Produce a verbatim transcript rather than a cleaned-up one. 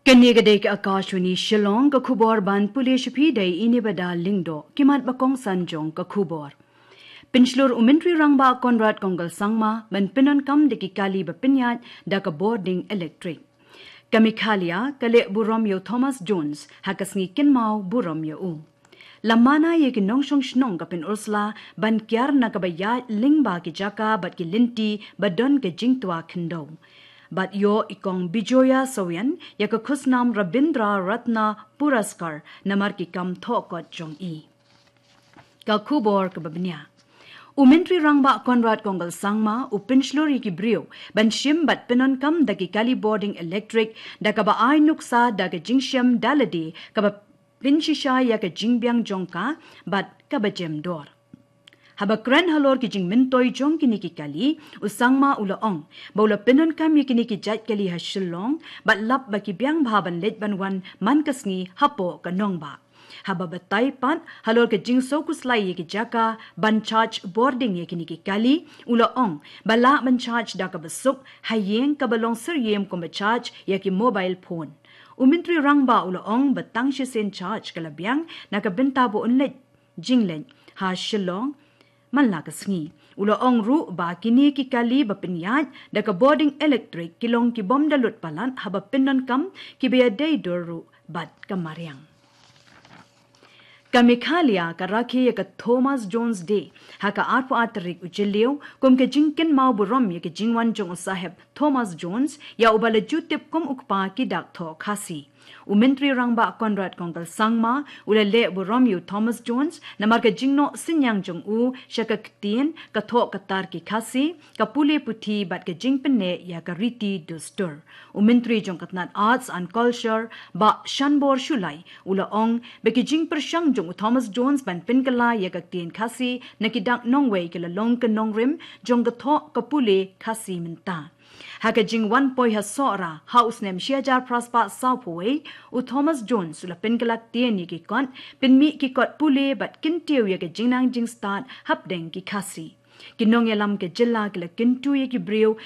Kane ka dei ka Akashvani Shillong, ka khubor ban pule sha phi da i Nebada Lyngdoh, ki mat ba kongsan jong ka khubor. Pynshlur u Myntri Rangbah Conrad Kongkal Sangma ban pyndonkam da ki kali ba pynïaid da ka bording elektrik. Ka Meghalaya ka leh burom ïa u Thomas Jones ha ka sngi kynmaw burom ïa u. La mana ïa ki nongshong shnong ka Pynursla ban kiar na kaba ïaid lyngba ki jaka bad ki lynti ba don ka jingtwa khyndew. Bad ïoh i Kong Bijoya Sawian ïa ka khusnam Rabindra Ratna Puraskar namar ki kam thohkot jong i. Ka khubor kaba bniah. U Myntri Rangbah Conrad Kongkal Sangma u pynshlur ïa ki briew ban shim bad pyndonkam da ki kali bording elektrik da kaba ai nuksa da ka jingshem da lade kaba pynshisha ïa ka jingbiang jong ka bad kaba jem dor. Haba kren halor ki jingmyntoi jong kine ki kali, u Sangma u la ong ba u la pyndonkam ïa kine ki jait kali ha Shillong bad lap ba ki biang bha ban leit ban wan man ka sngi hapoh ka nongbah. Haba batai pat halor ka jingsngewkhuslai ïa ki jaka ban charge bording ïa kine ki kali, u la ong ba lah ban charge da kaba suk ha ïing kaba long syriem kumba charge ïa ki mobile phone. U Myntri Rangbah u la ong ba tang shisien charge ka la biang na ka bynta ba un leit jingleit ha Shillong man la ka sngi. U la ong ruh ba kine ki kali ba pynïaid da ka bording elektrik ki long ki bym da lut palat haba pyndonkam, kiba ïadei dur ruh bad ka mariang. Ka Meghalaya ka rakhe ïa ka Thomas Jones Day ha ka arphew ar tarik u Jylliew kum ka jingkynmaw burom ïa ka jingwan jong u Saheb Thomas Jones, ïa uba la ju tip kum u kpa ki dak thoh Khasi. U Myntri Rangbah Conrad Kongkal Sangma u la leh burom ïa u Thomas Jones namar ka jingnoh synñiang jong u sha ka ktien, ka thoh ka tar ki Khasi, ka pule puthi bad ka jingpynneh ïa ka riti dustur. U Myntri jong ka tnat Arts and Culture, Bah Shanbor Shullai, u la ong ba ki jingpyrshang jong u Thomas Jones ban pynkylla ïa ka ktien Khasi na ki dak nongwei ki la long ka nongrim jong ka thoh, ka pule Khasi mynta. Ha ka jingwan poi ha Sohra ha u snem shi hajar phra spah sawphew wei, u Thomas Jones u la pynkylla ktien ïa ki kot, pynmih ki kot pule bad kyntiew ïa ka jingnang jingstad hapdeng ki Khasi. Ki nongïalam ka jylla ki la kyntu ïa ki briew